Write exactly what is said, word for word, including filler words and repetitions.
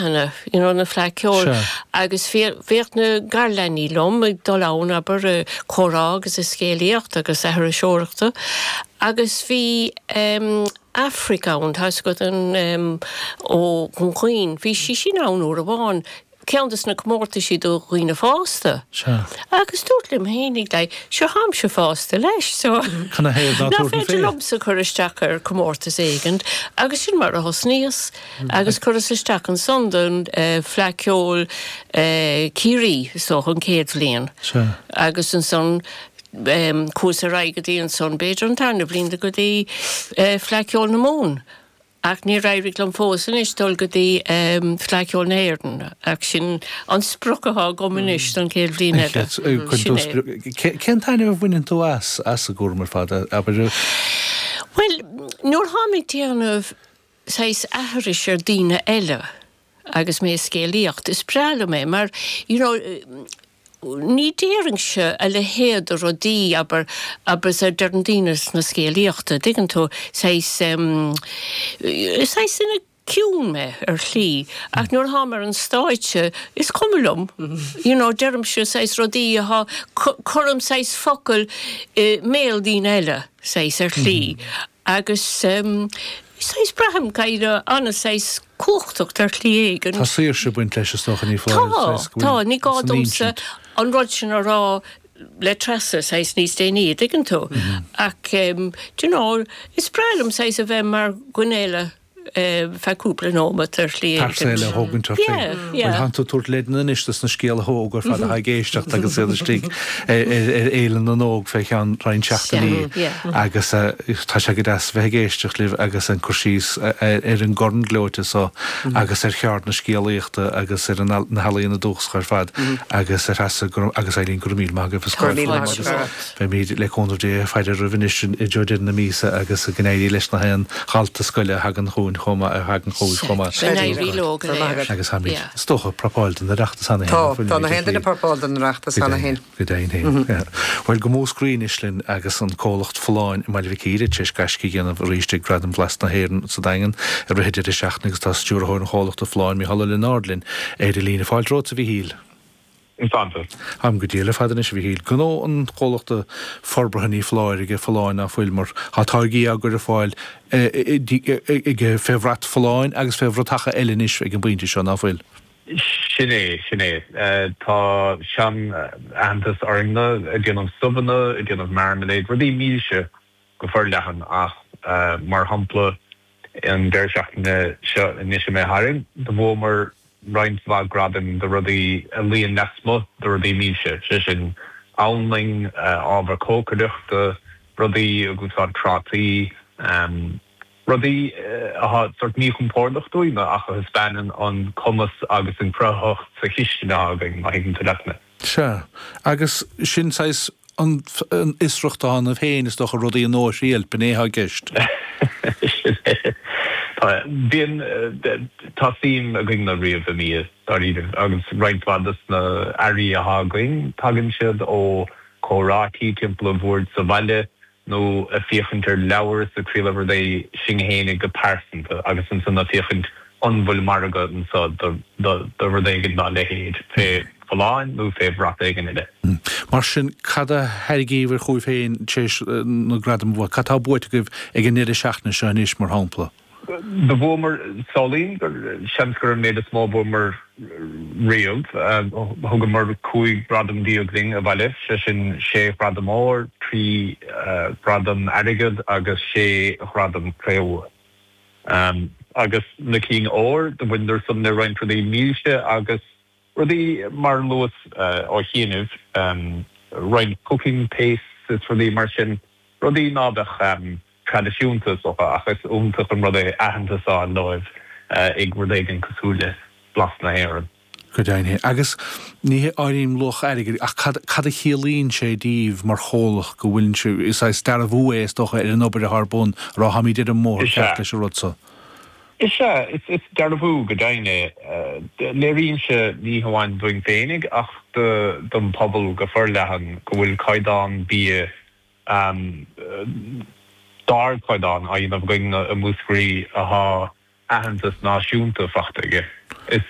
fleadhanna, you know, na Fleadh Ceoil agus bhíodh na garleanaí liom ag dul ann abair ag comhrá agus ag scéalaíocht agus aithriseoireachta agus bhí um, Aifric ann tá go an um, ó Dhún Chaoin, bhí sí sin ann uair amháin ceann des na comórtaisí do dhaoine fásta. Agus dúirt liom féinig le seo tháimse fásta leis so Cad ina thaobh ná Ná féidir liomsa cur isteach ar comórtas éigin agus sin mar a thosnaíos agus chuireas isteach ansan don uh, Fleadh Ceoil uh, Ciarraí so an chéad bhliain. Agus ansan um, chuas ar aghaidh go dtí ansan b'fhéidir an tarna bliain go dtí uh, Fleadh Cheoil na Mumhan. Ach níor éirigh liom fós anois dul go dtí um, Fleadh Cheoil na hÉireann ach sin an sprioc atá agam anois don chéad bhliain eile. Sin é. Cén taitneamh a bhaineann tú as as an gcúram ar fad abair Well, nuair tháim ag déanamh saghas aithris ar daoine eile agus mé scéalaíocht is breá liom é mar you know, ní déarfainnse a leithéid de rudaí abair abair a deireann daoine sna scéalaíochta, tuigeann tú saghas um, saghas ina ciún mé ar shlí ach nuair tháim ar an stáitse is cuma liom you know, deirimse saghas rudaí atá cuirim saghas focail i mbéal daoine eile saghas ar shlí agus um, saghas braithim go ana saghas cumhachtach ar shlí éigin. Tá saoirse ag baint leis is dócha ní Tá tá ní gá domsa an rud sin a rá le Treasa saghas níos déanaí tuigeann tú ach um, do you know, is breá liom saghas a bheith mar dhuine eile feadh cúpla nóiméad ar shlí Pearsa a thógaint Tá tú tabhairt leideanna anois dos na scéalaithe óga ar fad atá ag éisteacht agus iad istigh ar Fhéile na nÓg fé cheann roinnt seachtainí agus tá sé go deas bheith ag éisteacht libh agus an cur síos ar an gcorn gleoite so agus ar cheard na scéalaíochta agus ar na healaíona dúchasacha ar fad agus ar Threasa agus Eileen go raibh míle maith agaibh Beimid le cúnamh Dé ag faire oraibh anois i dtreo deireadh na míosa agus go n-éirí leis na haon dhalta scoile a thagann chugainn chomh maith a thagann chugaibh chomh maith. Agus táimid is dócha prapáil don Oireachtas cheana féin. Tá na haon duine prapáil don Oireachtas cheana féin. Go deimhin féin. Bhuel go Múscraí anois linn agus an comhlacht Folláin i mBaile Mhic Íre tar éis gaisce a dhéanamh arís ag Gradam Bhlas na hÉireann sa Daingean i rith an deireadh seachtaine agus tá stiúrthóir an chomhlachta Folláin Mícheál Ó Lionáird linn ar an líne. Fáilte romhat a Mhíchíl. Táim go diail ar fad anois a Mhíchíl. Gnó an chomhlachta forbartha ní foláir aige Folláin ná fuil mar tá táirgí á gcur ar fáil aige fé bhrat Folláin agus fé bhratacha eile anois ag an bpointe seo ná fuil. Sin é, sin é. Tá sean-aitheantas orainne ag déanamh subhanna, ag déanamh marmalade, rudaí milse go forleathan ach mar shampla an deireadh seachtaine seo anois imithe tharainn, do bhuamar roinnt mhaith gradaim do rudaí a luíonn lasmuigh de rudaí milse, sé sin anlainn, ábhar cócaireachta, rudaí ag úsáid trátaí, rudaí atá sórt míchompordach dúinn ach a thaispeánann an cumas agus an chruthaitheacht sa chistin atá againn, má thuigeann tú leat mé. Sea, agus sin saghas an fhiosracht atá ionaibh féin, is dócha, rudaí nua a thriail, b'in é atá i gceist. Sin é. Tá, bíonn, tá suim againn riamh i mbia, dáiríre, agus roinnt mhaith de na earraí atá againn, tagann siad ó chomhráití timpeall an bhoird sa bhaile nó ag féachaint ar leabhar is ag triail rudaí sinn fhéinig go pearsanta agus ansan ag féachaint an bhfuil margadh anso do rud éigin dá leithéid, fé Folláin nó fé bhrat éigin eile. Mar sin, cad a thairgíobhair chugaibh féin tar éis na gradaim a bhua? Cad tá buaite agaibh ag an ndeireadh seachtaine seo anois, mar shampla? Do bhuamar, samhlaím gur, seans gur an méid is mó a bhuamar riamh. Thugamar cúig ghradam déag linn abhaile, sé sin sé ghradam óir, trí ghradam airgid agus sé ghradam cré-umha. Agus na cinn óir, do bhaineadar san le roinnt rudaí milse agus Rudaí mar a luas ó chianaibh, roinnt cooking pastes is rudaí mar sin, rudaí ná beadh traidisiúnta is dócha ach is iontach an rud é aitheantas a fháil dóibh ag rud éigin cosúil le Blas na hÉireann. Go deimhin. Agus ní áirím luach airgid ach cad cad a chiallaíonn sé daoibh mar chomhlacht go bhfuil sibh, is saghas dearbhú é is dócha ar an obair atá ar bun, a rá táimid ar an mbóthar ceart leis an rud so. Is ea, is dearbhú go deimhin é. Léiríonn sé ní hamháin dúinn féinig ach don phobal go forleathan go bhfuil caighdeán bia d'ardchaighdeán á dhéanamh againn i Múscraí atá aitheantas náisiúnta faighte aige. Is.